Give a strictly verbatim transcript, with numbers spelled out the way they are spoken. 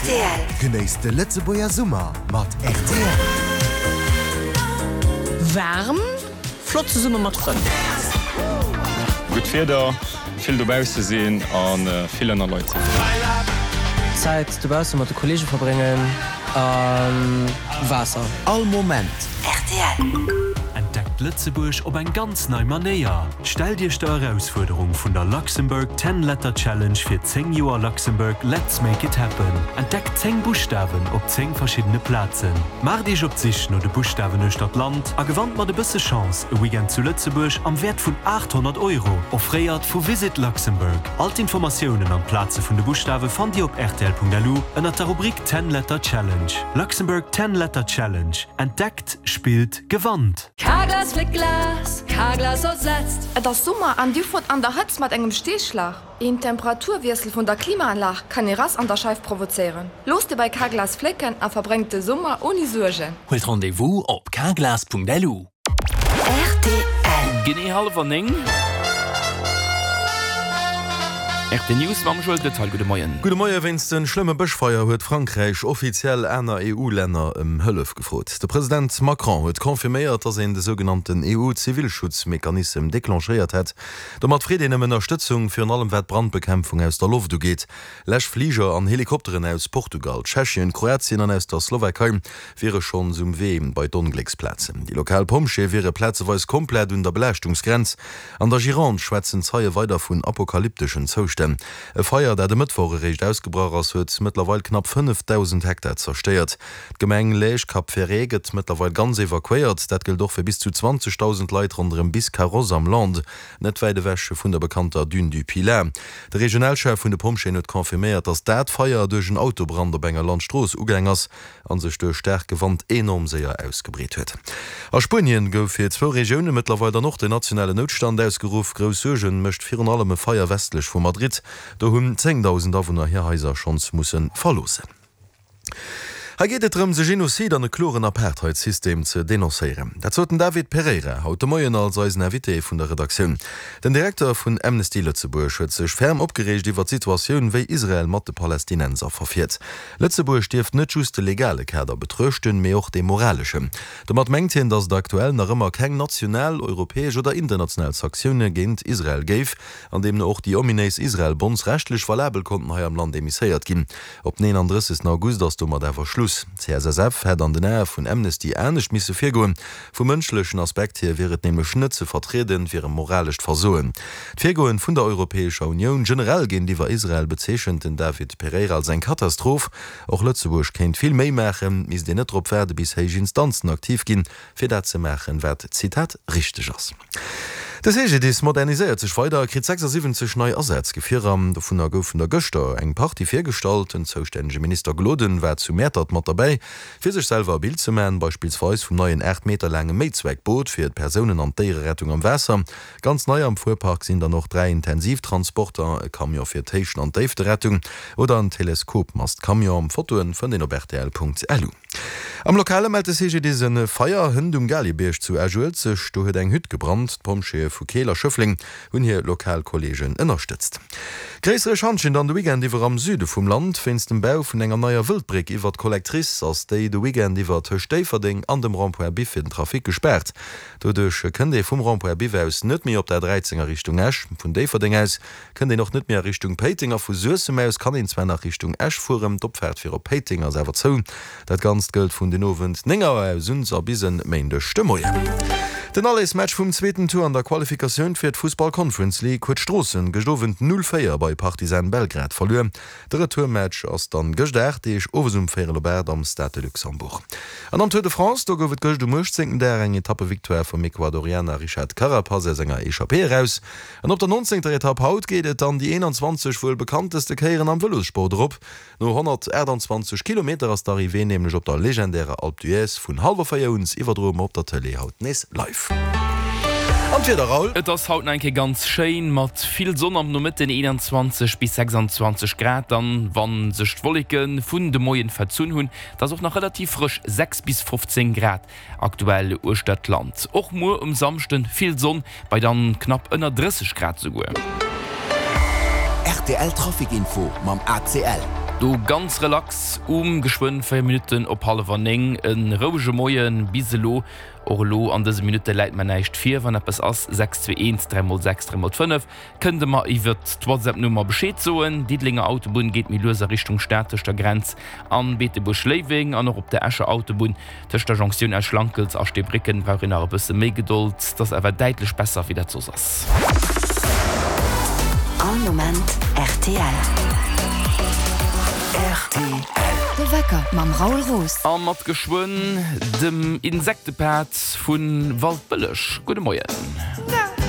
Rtl. Genéisst de Lëtzebuerger Summer mat rtl. Waarm, flott zesumme mat Frënn. Gutt Wieder, vill dobausse sinn a vill ënner Leit sinn. Zäit dobausse mat de Kolleege verbréngen a Waasser. All Moment. Rtl. Entdeckt Lëtzebuerg op eng ganz nei Manéier! Stellt Iech der Erausfuerderung vun der Luxembourg Ten Letter Challenge fir zéng Joer Luxembourg Let's Make It Happen. Entdeckt zéng Buschtawen op zéng verschiddene Plazen. Maacht Iech op d'Sich no de Buschtawen uechter d'Land a gewannt mat e bësse Chance e Weekend zu Lëtzebuerg am Wäert vun aathonnert Euro, offréiert vu Visit Luxembourg. All d'Informatiounen an d'Plaze vun de Buschtawe fannt Dir op rtl.lu ënnert der Rubrik Ten Letter Challenge. Luxembourg Ten Letter Challenge, Entdeckt, spillt, gewannt! Carglass fléckt Glas, Carglass ersetzt. Et ass Summer an Dir fuert an der Hëtzt mat engem Steeschlag. Een Temperaturwiessel vun der Klimaanlag kann ee Rass an der Scheif provozéieren. Loosst e bei Carglass flécken a verbréngt de Summer ouni Suergen. Huelt Rendez-vous op carglass.lu. Rtl. Genee hallwer néng. R T News mam Joël Goetz. Gudde Moien. Gudde Moie. Wéinst de schlëmme Bëschfeier huet Frankräich offiziell aner E U-Länner ëm Hëllef gefrot. De President Macron huet confirméiert, datt een de sougenannten E U-Zivilschutzmechanism declenchéiert hätt. Domat freet een ëm Ënnerstëtzung, virun allem wat d'Brandbekämpfung aus der Loft ugeet. Läschfliger an Helikopteren aus Portugal, Tschechien, Kroatien an aus der Slowakei wiere schonns um Wee bei d'Onglécksplazen. Déi lokal Pompjeeë wiere plazeweis komplett un der Belaaschtungsgrenz. An der Gironde schwätzen Zeie weider vun apokalypteschen Zoustänn. E Feier, dat e Mëttwoch eréischt ausgebrach ass, huet mëttlerweil knapp fënnefdausend Hektar zerstéiert. D'Gemeng Lège-Cap-Ferret gëtt mëttlerweil ganz evakuéiert. Dat gëllt och fir bis zu zwanzegdausend Leit ronderëm Biscarrosse am Landes, net wäit ewech vun der bekannter Dune du Pilat. De Regionalchef vun de Pompjeeën huet confirméiert, datt dat Feier duerch en Autobrand op enger Landstrooss ugaang ass a sech duerch staarke Wand enorm séier ausgebreet huet. A Spuenien gouf fir zwou Regioune mëttlerweil dann och den nationalen Noutstand ausgeruff. Grouss Suerge mécht virun allem e Feier westlech vu Madrid. Do hunn zéngdausend Awunner hir Haiser schonns musse verloossen. Hei geet et drëms, e Genozid an e kloren Apartheidssystem ze denoncéieren. Dat sot den David Pereira haut de Moien als eisen Invité vun der Redaktioun. Den Direkter vun Amnesty Lëtzebuerg huet sech ferm opgereegt iwwer d'Situatioun, wéi Israel mat de Palästinenser verfiert. Lëtzebuerg dierft net just de legale Kader betruechten, mee och dee moraleschen. Domat mengt hien, datt et aktuell nach ëmmer keng national, europäesch oder international Sanktioune géint Israel géif, an deemno och déi ominéis Israel-Bonds rechtlech valabel konnten hei am Land emisséiert ginn. Op den eenandrëssegsten August ass domat awer Schluss. D'C S S F hätt an den Ae vun Amnesty anescht misse virgoen. Vum mënschlechen Aspekt hier wier et nämlech net ze vertrieden, wier e moralescht Versoen. D'Virgoen vun der Europäescher Unioun generell géintiwwer Israel bezeechent den David Pereira als eng Katastroph. Och Lëtzebuerg kéint vill méi maachen, misst een net drop waarde bis héich Instanzen aktiv ginn, fir dat ze maachen, wat, Zitat, richteg ass. De C G D I S moderniséiert sech weider a kritt sechsasiwwenzeg nei Asazgefierer. Dovunner goufen der gëschter eng Partie virgestallt. Den zoustännege Minister Gloden war zu Mäertert mat derbäi, fir sech selwer e Bild ze maachen, beispillsweis vum neien aacht Meter laange Méizweckboot fir d'Persounen an d'Déiererettung am Waasser. Ganz nei am Fuerpark sinn dann och dräi Intensivtransporter, e Camion fir d'Héichten an d'Déifterettung oder en Teleskopmast-Camion. Fotoe fënnt een op rtl Punkt lu. Am Lokale mellt de C G D I S e Feier hënt um Galibierg zu Esch-Uelzecht. Do huet eng Hütt gebrannt. D'Pompjeeë vu Keel a Schëffleng hunn hir lokal Kolleegen ënnerstëtzt. Gréissere Schantjen dann de Weekend iwwer am Süde vum Land. Wéinst dem Bau vun enger neier Wëldbréck iwwer d'Collectrice ass déi de Weekend iwwer tëscht Déifferdeng an dem Rond-point Biff fir den Trafic gespaart. Doduerch kënnt ee vum Rond-point Biff aus net méi op der dräizéng a Richtung Esch. Vun Déifferdeng aus kënnt een och net méi a Richtung Péiteng a vu Suessem aus kann een zwar nach Richtung Esch fueren, d'Opfaart fir op Péiteng ass awer zou. Dat Ganzt gëllt vun den Owend néng Auer aus un a bis en Méindeg de Moien. Den Allersmatch vum zweeten Tour an der Qualifikatioun fir d'Fussball Conference League huet Stroossen gëscht Owend null véier bei Partizan Belgrad verluer. De Retourmatch ass dann gëscht aacht Deeg owes um véierel op aacht am Stade de Luxembourg. An am Tour de France, do gouf et gëscht um uechtzéngten Dag eng Etappevictoire vum Ecuadorianer Richard Carapaz aus enger Echappée eraus. An op der nonzéngter Etapp haut geet et dann déi eenanzwanzeg wuel bekannteste Kéieren am Vëlossport erop. No honnertaachtanzwanzeg Kilometer ass d'Arrivée nämlech op der legendärer Alpe d'Huez. Vun hallwer véier un iwwerdroe mer op der Tëlee haut nees live. An d'Wieder, Raoul? Et ass haut nach eng Kéier ganz schéin, mat vill Sonn am Nomëtten, eenanzwanzeg bis sechsanzwanzeg Grad. Dann, wann sech d'Wolleke vun de Moien verzunn hunn, da ass och nach relativ frësch, sechs bis fofzéng Grad aktuell uechter d'Land. Och muer um Samschden vill Sonn, bei dann knapp ënner drësseg Grad souguer. R T L Trafic Info mam A C L. Do ganz relax um geschwënn véier Minutten op hallwer néng. E rouege Moien bis elo. Och elo an dëse Minutte läit mer näischt vir. Wann eppes ass, sechs zwee eent dräi mol sechs dräi mol fënnef, kënnt der mer iwwert d'WhatsApp-Nummer Bescheed soen. Diddelenger Autobunn geet méi lues a Richtung Stad tëscht der Grenz an Beetebuerg-Léiweng an och op der Escher Autobunn tëscht der Jonktioun Esch-Lankelz a Steebrécken brauch een nach e bësse méi Gedold. 't ass awer däitlech besser wéi dat soss ass. All Moment rtl. Rtl. De Wecker mam Raoul Roos. A mat geschwënn dem Insektepad vu Waldbëlleg. Gudde Moien.